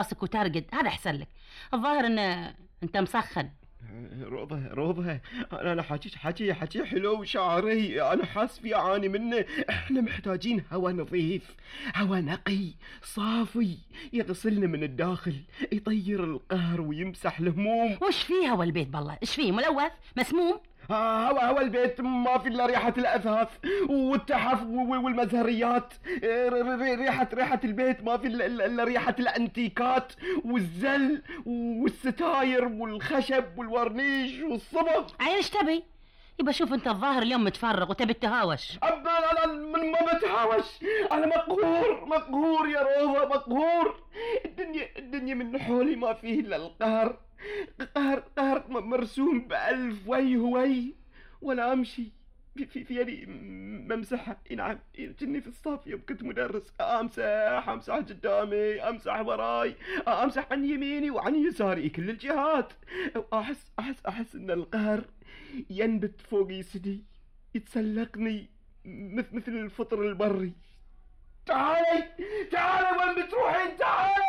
راسك وترقد، هذا احسن لك. الظاهر ان انت مسخن. روضة، انا حكي حلو وشعري، انا حاس في اعاني منه. احنا محتاجين هوا نظيف، هوا نقي صافي يغسلنا من الداخل، يطير القهر ويمسح الهموم. وش فيه هوا البيت بالله؟ ايش فيه؟ ملوث مسموم؟ هوا البيت ما في الا ريحة الاثاث والتحف والمزهريات. ريحة البيت ما في الا ريحة الانتيكات والزل والستاير والخشب والورنيش والصبغ. عيل ايش تبي؟ يبقى شوف انت الظاهر اليوم متفرغ وتبي التهاوش. انا ما بتهاوش، انا مقهور يا روضة، مقهور. الدنيا من حولي ما فيه الا القهر، قهر مرسوم بألف وي ولا امشي في يدي ممسحة. نعم، كني في الصف يوم كنت مدرس، امسح قدامي، امسح وراي، امسح عن يميني وعن يساري كل الجهات. احس ان القهر ينبت فوق جسدي، يتسلقني مثل الفطر البري. تعالي وين بتروحين؟ تعالي.